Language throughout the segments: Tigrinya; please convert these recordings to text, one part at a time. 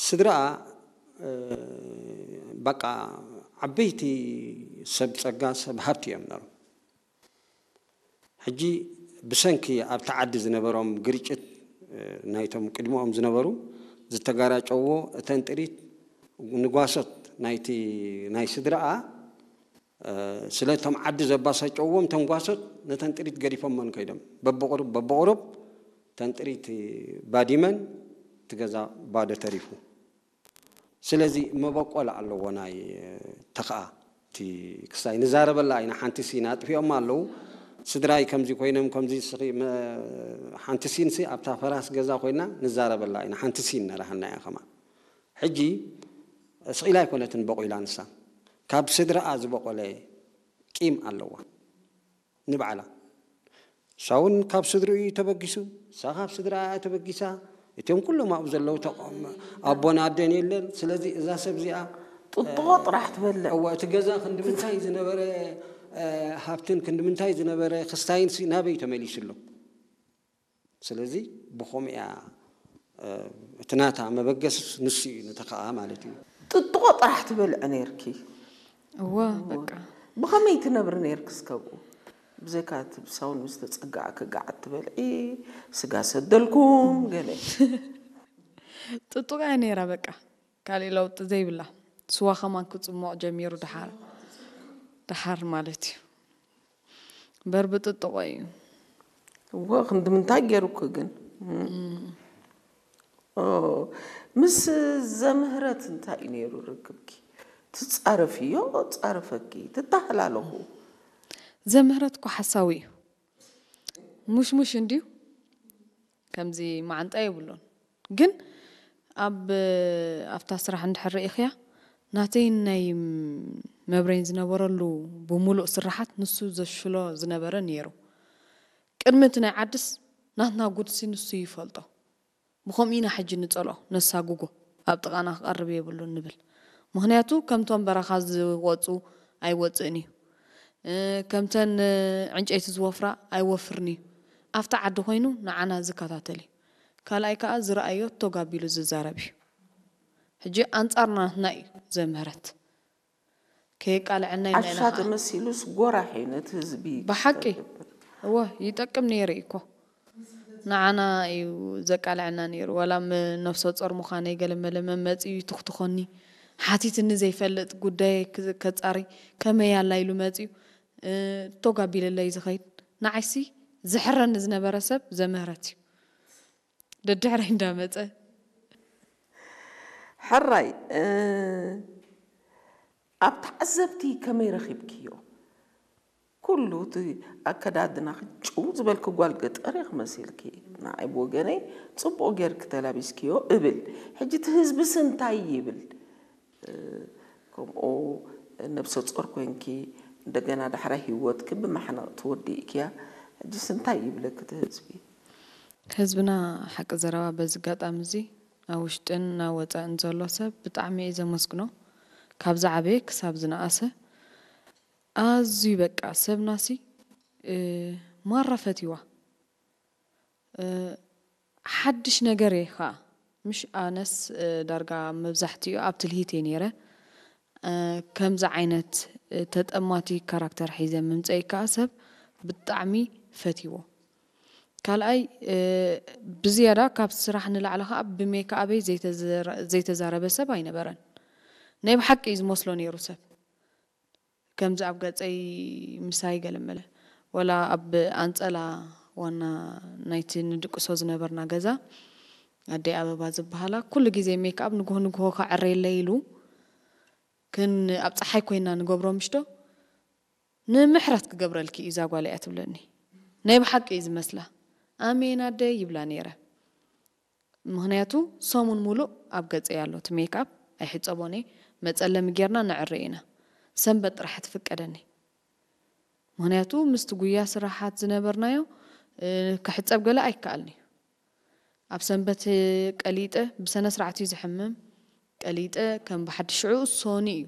ስድራኣ በቃ ዓበይቲ ሰብ ጸጋ ሰብ ሃብቲ እዮም ነሮም። ሕጂ ብሰንኪ ኣብቲ ዓዲ ዝነበሮም ግርጭት ናይቶም ቅድሚኦም ዝነበሩ ዝተጋራጨዎ እተን ጥሪት ንጓሶት ናይቲ ናይ ስድራኣ ስለቶም ዓዲ ዘባሳጨዎም ተንጓሶት ነተን ጥሪት ገዲፎመን ከይዶም በብቑሩብ በብቑሩብ ተንጥሪት ባዲመን ትገዛ ባዶ ተሪፉ። ስለዚ መበቆል ኣለዎ ናይ ተኸኣ እቲ ክስታይ ንዛረበላ ኢና። ሓንቲ ሲን ኣጥፊኦም ኣለዉ ስድራይ ከምዚ ኮይኖም ከምዚ ስኺ ሓንቲ ሲን ሲ ኣብታ ፈራስ ገዛ ኮይና ንዛረበላ ኢና። ሓንቲ ሲን ነራህና እያ ከማ ሕጂ ስቕ ኢላ ኣይኮነትን በቑላ ንሳ ካብ ስድራኣ ዝበቖለ ቂም ኣለዋ። ንባዕላ እሳ እውን ካብ ስድርኡ እዩ ተበጊሱ እሳ ካብ ስድራ እያ ተበጊሳ። እቲኦም ኩሎም ኣብኡ ዘለዉ ኣቦን ኣደን የለን። ስለዚ እዛ ሰብ እዚኣ ጥጥቆ ጥራሕ ትበልዕ። እወ እቲ ገዛ ክንዲ ምንታይ ዝነበረ ሃብትን ክንዲ ምንታይ ዝነበረ ክስታይን ናበይ ተመሊሱ ኣሎ? ስለዚ ብኸምኡ እያ እቲ ናታ መበገስስ ንሱ እዩ ንተኸኣ ማለት እዩ። ጥጥቆ ጥራሕ ትበልዕ ነርኪ። እወ በቃ ብኸመይ ትነብሪ ነርክስ ከብኡ? ብዘይካ እቲ ብሳውን ምስ ተጸጋዕኪ ጋዓት ትበልዒ፣ ስጋ ሰደልኩም ገለ። ጥጡቕ እያ ነይራ በቃ። ካሊእ ለውጢ ዘይብላ። ስዋ ከማን ክጽሞቕ ጀሚሩ ደሓር ደሓር ማለት እዩ። እምበር ብጥጥቖ እዩ። እወ ክንዲ ምንታይ ገይሩኪ ግን? ኦ፣ ምስ ዘምህረት እንታይ እዩ ነይሩ ርክብኪ? ትጻረፍዮ ጻረፈኪ? ትተሃላለኹ? ዘምህረት እኮ ሓሳዊ እዩ። ሙሽሙሽ እንድዩ። ከምዚ መዓንጣ የብሉን። ግን ኣብ ኣብታ ስራሕ እንድሕር ርኢኽያ ናተይን ናይ መብሬን ዝነበረሉ ብምሉእ ስራሓት ንሱ ዘሽሎ ዝነበረ ነይሩ። ቅድሚ እቲ ናይ ዓድስ ናትና ጉድሲ ንሱ ይፈልጦ። ብኸምኡ ኢና ሕጂ ንጸልኦ፣ ነሳጉጎ፣ ኣብ ጥቓና ክቐርብ የብሉን ንብል። ምኽንያቱ ከምቶም በረኻ ዝወጹ ኣይወጽእን እዩ። ከምተን ዕንጨይቲ ዝወፍራ ኣይወፍርን እዩ። ኣብቲ ዓዲ ኮይኑ ንዓና ዝከታተል እዩ። ካልኣይ ከኣ ዝረኣዮ ቶግ ኣቢሉ ዝዛረብ እዩ። ሕጂ ኣንጻርና ናትና እዩ ዘምህረት። ከየቃልዐና ኢልና ኢና ዓሻ ከዓ ተመሲሉስ ጎራሕ እዩ ነቲ ህዝቢ ብሓቂ እወ ይጠቅም ነይሩ እዩ እኮ። ንዓና እዩ ዘቃልዐና ነይሩ። ዋላ ም ነፍሰ ጾር ምዃነይ ገለ መለ መመጺኡ ይትኽትኾኒ። ሓቲትኒ ዘይፈልጥ ጉዳየይ ክ- ከጻሪ ከመይ ኣላ ኢሉ መጺኡ እ፣ ቶግ ኣቢልለይ ዝኸይድ ንዓይሲ ዝሕረኒ ዝነበረ ሰብ ዘምህረት እዩ ደድሕረይ እንዳመፀ ሕራይ ኣብ ተዓዘብቲ ከመይ ረኺብክዮ? ኩሉ እቲ ኣከዳድናኺ ጭው ዝበልኪ ጓል ገጠር ኢኺ መሲልኪ። ንዓይ ብወገነይ ጽቡቕ ጌርኪ ተላቢስክዮ እብል። ሕጂ እቲ ህዝብስ እንታይ ይብል? ከምኡ ነብሰ ጾር ኮይንኪ እንደገና ዳሕራይ ሂወትኪ ብማሕነቕ ትወድእክያ። ሕጂስ እንታይ ይብለኪ እቲ ህዝቢ? ህዝብና ሓቂ ዘረባ በዚ ኣጋጣሚ እዚ ኣብ ውሽጥን ናብ ወፃእን ዘሎ ሰብ ብጣዕሚ እየ ዘመስግኖ። ካብ ዝዓበየ ክሳብ ዝነኣሰ ኣዝዩ በቃ ሰብናሲ ማራ ፈትይዋ። ሓድሽ ነገር እየ ከዓ ምሽ ኣነስ ዳርጋ መብዛሕትኡ ኣብ ትልሂት እየ ነይረ። ከምዚ ዓይነት ተጠማቲ ካራክተር ሒዘ ምምፀይ ከዓ ሰብ ብጣዕሚ ፈትይዎ። ካልኣይ ብዝያዳ ካብ ስራሕ ንላዕሊ ከዓ ብሜክኣበይ ዘይተዘረ- ዘይተዛረበ ሰብ ኣይነበረን። ናይ ብሓቂ እዩ ዝመስሎ ነይሩ ሰብ። ከምዚ ኣብ ገፀይ ምሳይ ገለመለ ወላ ኣብ ኣንፀላ ዋና ናይቲ ንድቅሶ ዝነበርና ገዛ ኣደይ ኣበባ ዝበሃላ ኩሉ ግዜ ሜክኣብ ንግሆ ንግሆ ከዐረየለይ ኢሉ ክን ኣብ ፀሓይ ኮይና ንገብሮ ምሽዶ ንምሕረት ክገብረልኪ እዩ እዛ ጓል እያ ትብለኒ ናይ ብሓቂ እዩ ዝመስላ ኣሜን ኣደይ ይብላ ነይረ ምኽንያቱ ሰሙን ሙሉእ ኣብ ገፀይ ኣሎ እቲ ሜክኣፕ ኣይሕፀቦን እየ መፀለሚ ጌርና ነዕሪ ኢና ሰንበት ጥራሕ ትፍቀደኒ ምኽንያቱ ምስቲ ጉያ ስራሓት ዝነበርናዮ ክሕፀብ ገለ ኣይከኣልን እዩ ኣብ ሰንበት ቀሊጠ ብሰነ ስርዓት እዩ ዝሕምም ቀሊጠ ከም ብሓድሽ ሽዑ ሶኒ እዩ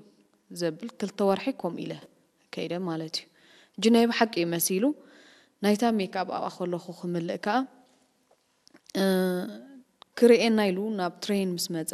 ዘብል ክልተ ወርሒ ከምኡ ኢለ ከይደ ማለት እዩ ሕጂ ናይ ብሓቂ እዩ መሲሉ ናይታ ሜክኣፕ ኣብኣ ከለኹ ክምልእ ከዓ ክርእየና ኢሉ ናብ ትሬን ምስ መፀ